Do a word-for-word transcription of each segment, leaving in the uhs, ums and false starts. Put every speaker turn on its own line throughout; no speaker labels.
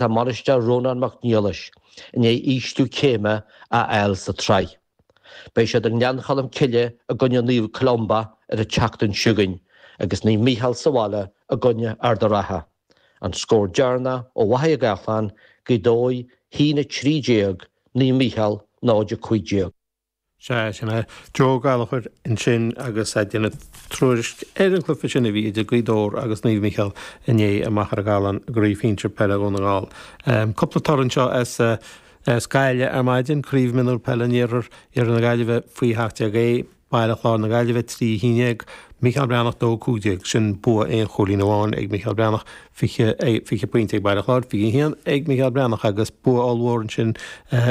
Tá bainisteoir Rónán Mac Niallais i ndiaidh ísliú céime a fháil sa tsraith. Beidh siad i nGleann Cholm Cille i gcoinne Naomh Columba ar an tseachtain seo chugainn agus Naomh Mícheál sa bhaile i gcoinne Ard an Rátha. An scór deireanach ó Mhachaire Gathlán Gaoth Dobhair a haon a trí déag Naomh Mícheál náid a cúig déag.
Sea, sin é Joe Gallagher ansin agus ag déanamh tuairisc ar an chluiche sin a bhí idir Gaoth Dobhair agus Naomh Mícheál inné i Machaire Gathlán i gCraobh Shinsir Peile Dhún na nGall. Um, cúpla toradh anseo as uh, as Gaillimh ar maidin, Craobh Mionúr Peile an Iarthair Iarthar na Gaillimhe faoi sheacht déag A, Baile Chláir na Gaillimhe trí a haon déag, Mícheál Breathnach dó cúig déag, sin bua aon chúilín amháin ag Mícheál Breathnach, fiche fiche pointe ag Baile Chláir, fiche haon ag Mícheál Breathnach agus bua ollmhór ansin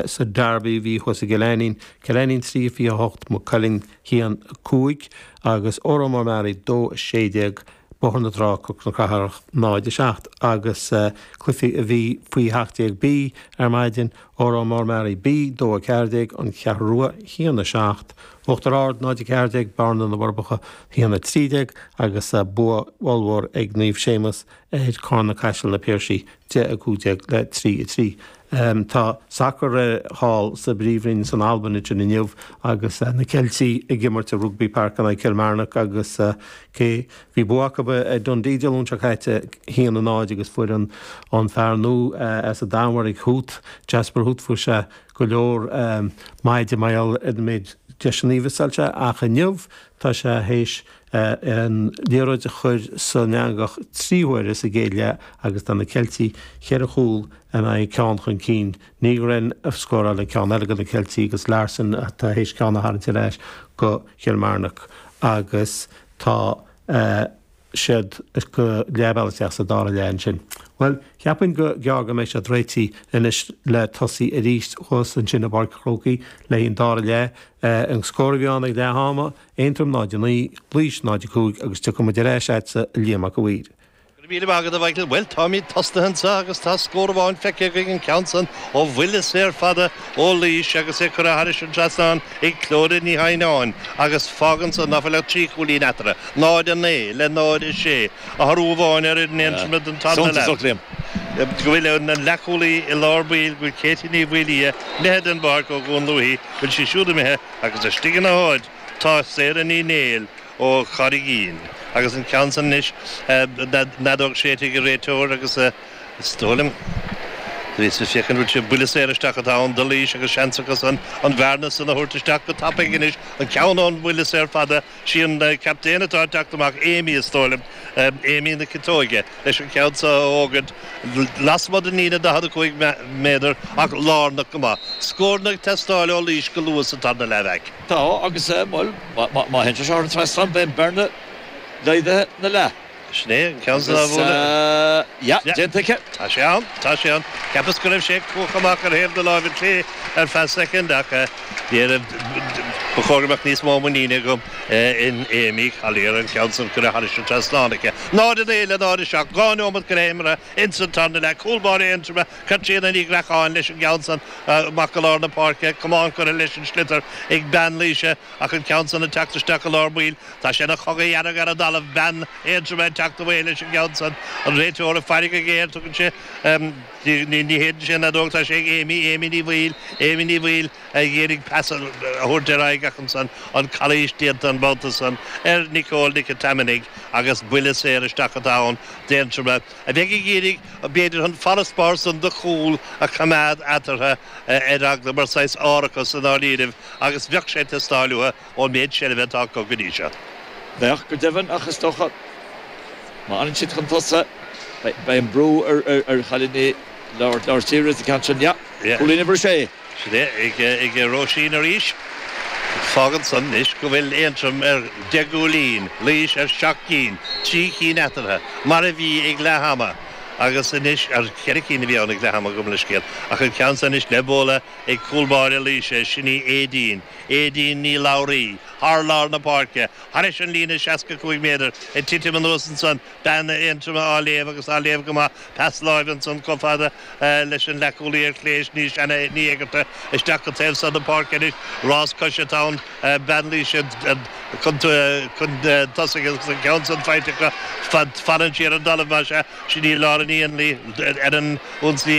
sa Derby bhí thuas i gCill Ainnín, Cill Ainnín trí fiche hocht, Maigh Cuilinn haon cúig agus Órán Mór Meáraí dó a sé déag, Bóthar na Trá, Cnoc na Cathrach náid a seacht agus cluichí a bhí faoi sheacht déag B ar maidin, Órán Mór Meáraí B dó a ceathair déag, An Cheathrú Rua haon a seacht, Uachtar Ard náid a ceathair déag, Bearna na bhForbacha haon a trí déag agus bua ollmhór ag Naomh Séamus ar Carna Caiseal na Piarsaigh deich a cúig déag le trí a trí. Tá sacar thall sa bPríomhroinn san Albain ansin inniu agus na Ceiltigh ag imirt i Rugby Park in aghaidh Kilmarnock agus cé bhí bua acu ar Dundee Dé Luain seo caite haon a náid agus fuair an an fear nua as an Danmhairg Huth Jasper Huth fuair sé go leor maide mar gheall ar an méid deiseanna a mhíossáil sé ach inniu tá sé théis an liathróid a chur san eangach trí huaire sa gcéad leath agus tá na Ceiltigh cheithre chúl in aghaidh ceann chun cinn. Nygren a scóráil an ceann eile do na Ceiltigh agus Larson atá théis ceann a tharraingt ar ais go Kilmarnock agus tá siad go leathbhealach isteach sa dara leath ansin. Bhuel, cheapfainn go gearr go mbeidh siad réitithe anois le tosaí arís thuas ansin i bPáirc an Chrócaigh le an dara leath. An scór a bhí ann ag leath ama, Aontroim náid a naoi, Laois náid a cúig agus tiocfaidh muid ar ais agatsa a Liam Mac a' Mhaoir.
Go raibh míle maith agat a Mhichael. Bhuel, táimid tosaithe anseo agus tá scór amháin feicthe againn an ceann san ó bhuille saor fada ó Laois agus é curtha thairis an trasnán ag Clóda Ní Shaighneáin agus fágann san ná fuil ach trí chúilín eatarthu, náid a naoi le náid a sé, athrú amháin ar fhoireann Aontroma don tarna leath. Go bhfuil an leathchúlaí i lár baill, go bhfuil Katie Ní Mhaolaodha imithe den bpáirc ó Dhún Lúiche, bhfuil sí siúd imithe agus istigh ina háit tá Sarah Ní Néill ó Charraigín agus an ceann san anois fheadóg séidte ag an réiteoir agus is dóigh liom bhíos ag féachaint bhfuil sé buille saor isteach atá ann do Laois agus seans acu san an bhearna san a thabhairt isteach go tapaidh anois an ceann ón bhuille saor fada sí an captaen atá ag teacht amach Amy is dóigh liom Amy na Ciotóige leis an ceann seo a fhógairt lasmuigh den líne daichead a cúig méadar ach lárnach go maith. Scóranna ag teastáil ó Laois go luath sa tarna leath.
Tá agus bhuel má théann sé seo thar an trasnán beidh an bearna laghdaithe ina leath.
Sin é an ceann san á bhualadh.
Yeah, déanta aici.
Tá sé ann, tá sé ann. Cheapas go raibh sé cuachta amach ar thaobh na láimhe clé ar feadh soicind ach ní ba chóir go mbeadh níos mó muiníne agam in Amy Collier an ceann san curtha thairis an trasnán aici. Náid a naoi le náid a seacht, dhá neomat go leith imeartha ins an tarna leath, cúl báire Aontroma, Caitríona Ní Ghreacháin leis an gceann san amach go lár na páirce, camán curtha leis an sliotar ag bean Laoise ach an ceann san ag teacht isteach i lár baill. Tá sé ina chogadh dhearg ar an dtalamh, bean Aontroma ag teacht away leis an gceann san, an réiteoir ag faire go géar, tugann sé ní shéideann sé an fheadóg, tá sé ag Amy, Amy Ní Bhaoill, Amy Ní Bhaoill ag iarraidh pas a thabhairt ar aghaidh ach ansan an calaois déanta an babhta san ar Nicole Nic an tSaimhnigh agus buille saor isteach atá ann d'Aontroim a bheidh ag iarraidh b'fhéidir an farasbarr san de chúl a choimeád eatarthu ar eagla mar saghas árachas i ndáiríribh agus bheadh sé ag teastáil uathu ón méid seilbhe atá acu go dtí seo.
Bheadh, go deimhin, ach is dócha má fhanann siad chun tosaigh beidh an brú ar chailíní lár tíre sa cheann sin. Yeah, cúilín uimhir a sé.
Sin é, ag Róisín arís. Fágann san anois go bhfuil Aontroim ar deich gcúilín, Laois ar seacht gcinn, trí chinn eatarthu, mar a bhí ag leath ama, agus anois, ar cheithre cinn a bhí ann ag leath ama, gabh mo leithscéal, ach an ceann san anois le bualadh ag cúl báire Laoise, sin í Aedín, Aedín Ní Labhraí, thar lár na páirce, thairis an líne seasca cúig méadar, ag titim anuas ansan, Bean Aontroma á léamh agus á léamh go maith. Pas láimhe ansan chomh fada leis an leathchúlaí ar chlé, sin í Shanna Ní Éigearta, isteach go taobh seo na páirce anois. Rás coise atá ann. Bean Laoise chun tosaigh agus an ceann san faighte acu fanann sí ar an dtalamh mar sin sin í Lauren Ní ar an ionsaí.